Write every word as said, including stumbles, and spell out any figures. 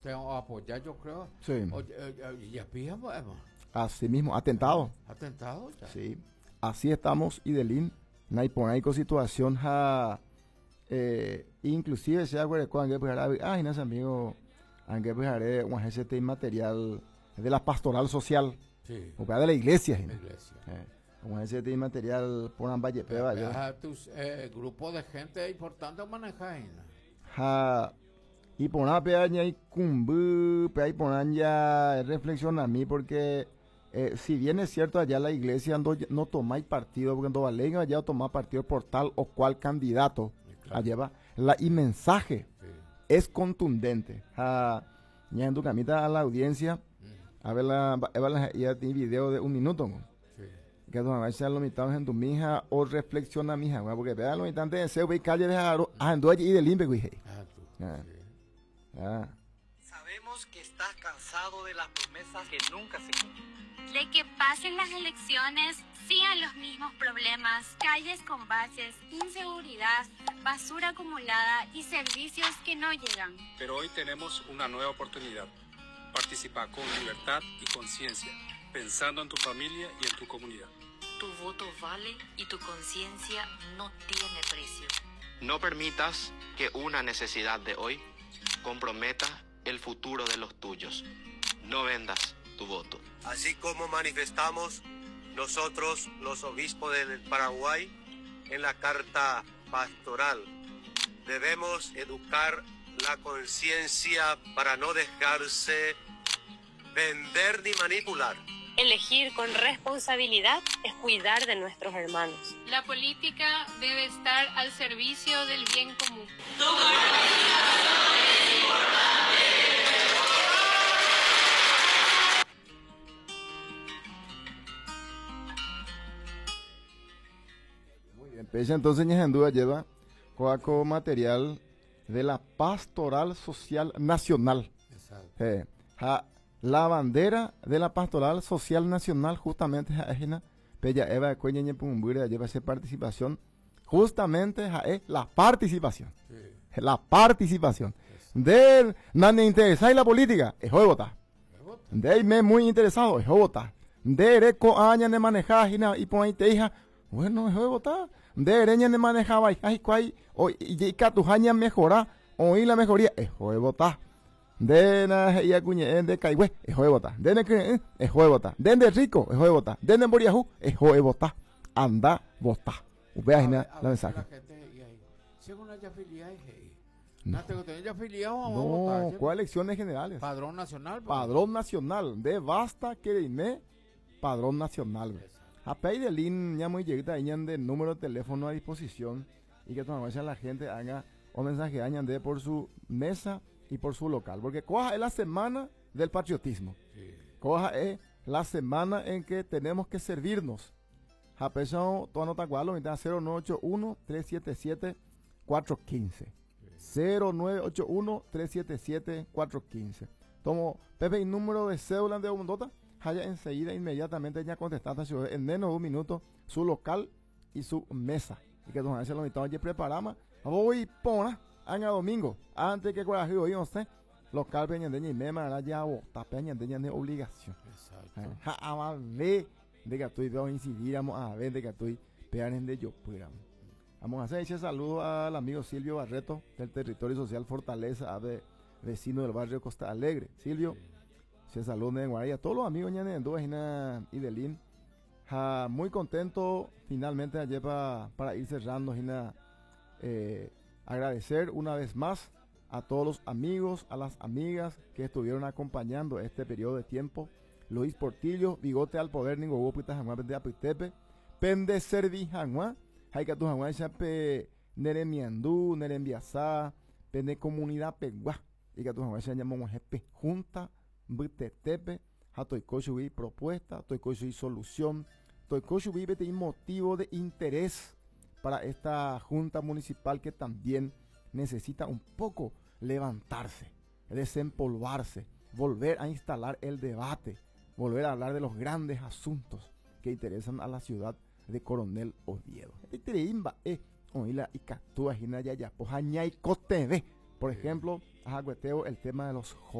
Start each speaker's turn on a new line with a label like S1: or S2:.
S1: Te apoyar, yo creo.
S2: Sí.
S1: Oye, eh, ya pija, pues,
S2: Así mismo, atentado.
S1: Atentado, ya.
S2: Sí. Así estamos, Idelín. Naiponaico situación ja, eh, inclusive se acuerda cuando pues ah, y amigo, aunque pues haré un G C T material de la pastoral social.
S1: Sí.
S2: O de la iglesia,
S1: La iglesia.
S2: Eh, un G C T material por Ambaye Peba, yo.
S1: Tus eh, grupo de gente importante manejar.
S2: Ja, iporã pe ñaikũmby pe iporã ya reflexiona a mí porque eh, si bien es cierto allá la iglesia no, no tomáis partido porque no vale allá tomar partido por tal o cual candidato,
S1: claro.
S2: Allá va la y mensaje
S1: Sí.
S2: es contundente. Ja, ñahendukamíta a la audiencia
S1: Mm.
S2: a ver la eva la ya tiene video de un minuto, ¿no?
S1: Sí.
S2: Que tu mamá sea lo mitad en tu mija o reflexiona mija, porque vea lo mitad de ese ve calle de ando allí y de limpio, güey.
S1: Ah, tú.
S2: Ah.
S1: Sí.
S2: Ah.
S3: Sabemos que estás cansado de las promesas que nunca se cumplen.
S4: De que pasen las elecciones, sigan los mismos problemas, calles con baches, inseguridad, basura acumulada y servicios que no llegan.
S5: Pero hoy tenemos una nueva oportunidad. Participa con libertad y conciencia, pensando en tu familia y en tu comunidad.
S6: Tu voto vale y tu conciencia no tiene precio.
S7: No permitas que una necesidad de hoy comprometa el futuro de los tuyos. No vendas tu voto.
S3: Así como manifestamos nosotros, los obispos del Paraguay, en la carta pastoral. Debemos educar la conciencia para no dejarse vender ni manipular.
S8: Elegir con responsabilidad es cuidar de nuestros hermanos.
S9: La política debe estar al servicio del bien común.
S6: Tu participación es importante.
S2: Muy bien, pese entonces duda lleva coaco material de la Pastoral Social Nacional.
S1: Exacto.
S2: Eh, ja, la bandera de la Pastoral Social Nacional justamente ha'ehína pe ja'eva'ekue ñañepyrũmbýre lleva esa participación justamente es la participación.
S1: Sí.
S2: La participación. De nadie interesa la política, es votar. De me muy interesado, es votar. De reco aña de manejar y pon hija, bueno, es votar. De ereña de manejaba y cuay o y tu aña mejora oí la mejoría, es votar. De na ya cuñe de caigüe, es votar. De ne es votar. De de rico, es votar. De de Boriajú, es votar. Anda, votar. Vea la mensaje.
S1: Según haya afiliado, no,
S2: no, ¿cuál elecciones generales?
S1: Padrón nacional.
S2: Padrón nacional. De basta que dime padrón nacional. A de lin ya muy lleguita de número de teléfono a disposición y que todavía la gente haga un mensaje añan de por su mesa y por su local. Porque coja es la semana del patriotismo.
S1: Sí.
S2: Coja es la semana en que tenemos que servirnos. Japesao, toda nota cual, cero nueve ocho uno, tres siete siete, cuatro uno cinco. cero nueve ocho uno, tres siete siete, cuatro uno cinco. Tomo Pepe y número de cédula de Bondota, haya enseguida, inmediatamente ya contestaste en menos de un minuto su local y su mesa. Y que don lo mitad ya preparamos. Voy pona, año domingo, antes que coraje hoy no sé, local peña de y mema ya bota peña de obligación.
S1: Exacto.
S2: Ja, a ver de que estoy veo incidir, a ver de que estoy peanes de yo. Vamos a hacer ese saludo al amigo Silvio Barreto del Territorio Social Fortaleza, de vecino del barrio Costa Alegre. Silvio, se saludo de Guaraya, a todos los amigos de y de Lin. Ja, muy contento finalmente ayer pa, para ir cerrando, Gina, eh, agradecer una vez más a todos los amigos, a las amigas que estuvieron acompañando este periodo de tiempo. Luis Portillo, Bigote al Poder, ningo pita hag̃ua pende apytépe, pende servi hag̃ua, ha ikatu hag̃uáicha pe neremiandu, nerembiasa, pende comunidad pegua, ikatu hag̃uáicha ñamog̃uahẽ pe junta mbytetépe, ha toiko chugui propuesta, toiko chugui solución, toiko chugui peteĩ motivo de interés para esta junta municipal que también necesita un poco levantarse, desempolvarse, volver a instalar el debate, volver a hablar de los grandes asuntos que interesan a la ciudad de Coronel Oviedo. Por ejemplo, ahagueteo el tema de los jóvenes.